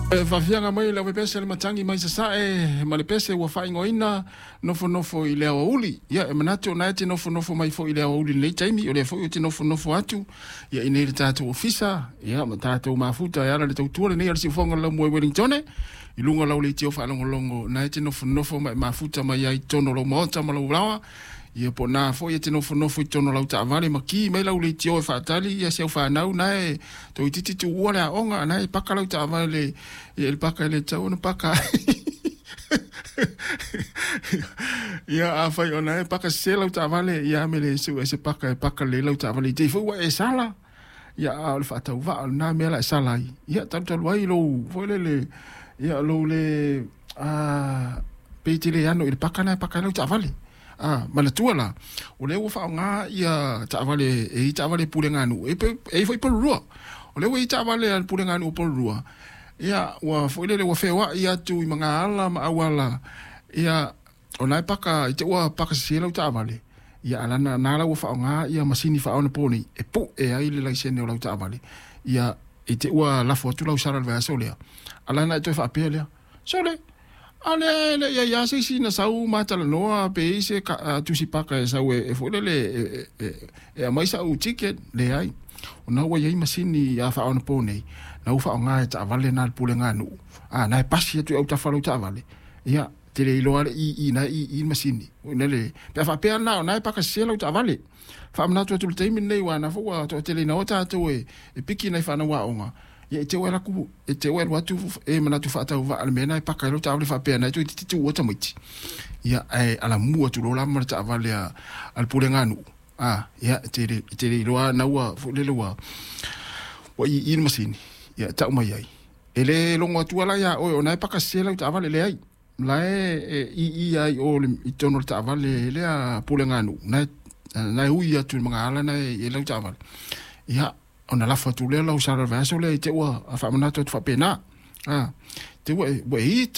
Faafiaga mai le pese le matagi mai sasae ma le pese ua faaigoaina nofonofo i le aoauli. Ia e manatu o na e te nofonofo mai foi i le aoauli i lenei taimi, o lea foi ou te nofonofo atu ia i nei le tatou ofisa, ia ma tatou mafuta e ala i le tautua lenei a le siufofoga o le laumua i Wellingtone, i luga o lau leitio faalogologo, na e te nofonofo ma e mafuta mai ai i totonu o lou maota ma lou laoa. Ia po o na foi e te nofonofo i totonu o lau taavale ma ki mai lau leitio e faatali ia si au fanau na e toeitiiti tuua le aoga, na e paka lau taavale ia i le paka e le tatau ona paka ai. Ia afai o na e paka sese lau taavale, ia ame le sue se paka e paka lelei lau taavale i te i foi ua e sala. Ia a o le faatauvaa o lena mea la e sala ai. Ia talutalu ai lou foi lele ia lou le a pe te le ano i le paka na e paka ai lau taavale. A manatua la, o lea ua faaaoga ia taavale e i taavale puleganuu, e i foi Porirua. O lea ua i taavale a le puleganuu o Porirua, ia ua foi lele ua feoai atu i magaala ma auala, ia o na e paka i te ua paka sese lau taavale, ia alana na la ua faaaoga ia masini faaonaponei e pu'e ai le laisene o lau taavale. Ia i te ua lafo atu lau sala i le vaiaso lea, alana e toe faapea lea, sole, a lea e le i ai lava se isi na sau ma talanoa pe i se tusi paka e sau e foi lele e aumai sa'u ticket. Leai, ona ua i ai masini a faaonaponei na ua faaaoga e taavale na a le puleganuu, a na e pasi atu i autafa o lau taavale, ia te le iloa le ii na e ii le masini le pe a faapea na o na e paka sese lau taavale. Faamanatu atu i le taimi lenei aua na foi ua toateleina o tatou e piki nai fanau aoga, ia e te ua alu e te ua alu atu e manatu faatauvaa le mea na e paka ai lau taavale faapea na e toeitiiti tuua tamaiti, ia ae alamu atu loa la ma le taavale a le puleganuu, a ia e te le iloa na ua foi lele ua ii le masini, ia e tau mai ai e le logo atua la ia oe o na e paka sese lau taavale. Leai, la e ii ai o i totonu o le taavale lea puleganuu na e ui atu i le magaala na e i lau taavale, ia ona lafo atu lea lau sala i le vaiaso lea i te ua faamanatu atu faapena. A te ua e ita